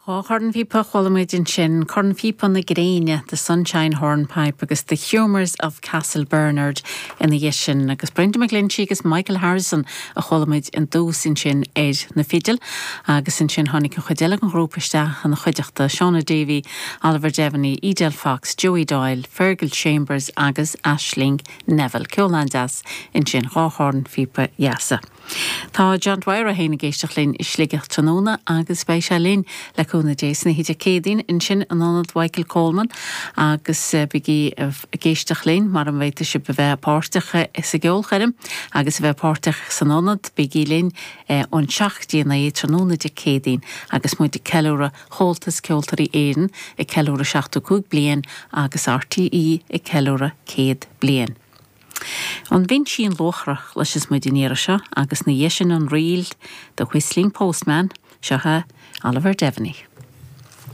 Dá chornphíopa a chuala muid ansin, Cornphíopa na Gréine, The Sunshine Hornpipe agus The Humours of Castlebernard ina dhiaidh sin, agus Brendan McGlinchey agus Michael Harrison a chuala muid i dtús ansin ar na fidil, agus ansin tháinig an chuid eile den ghrúpa isteach ina chuideachta, Shauna Davey, Oliver Devaney, Edel Fox, Joey Doyle, Fergal Chambers agus Aisling Neville. Ceol an-deas ansin, dhá chornphíopa dheasa. Tá John Dwyer é féin ag éisteacht linn i Sligeach tráthnóna agus beidh sé linn, le cúnamh Dé, san oíche Dé Céadaoin ansin in Ionad Mhichael Coleman agus bígí ag éisteacht linn mara bhféadfaidh sibh a bheith páirteach sa gceolchoirm agus a bheith páirteach san ionad, bígí linn ón 7 go dtí a 9 tráthnóna Dé Céadaoin agus muid ag ceiliúradh Chomhaltas Ceoltóirí Éireann ag ceiliúradh 75 bliain agus RTÉ ag ceiliúradh 100 bliain. An Bhinsín Luachra a chloisfeas muid an iarraidh seo agus ina dhiaidh sin an ríl The Whistling Postman, seo é Oliver Devaney.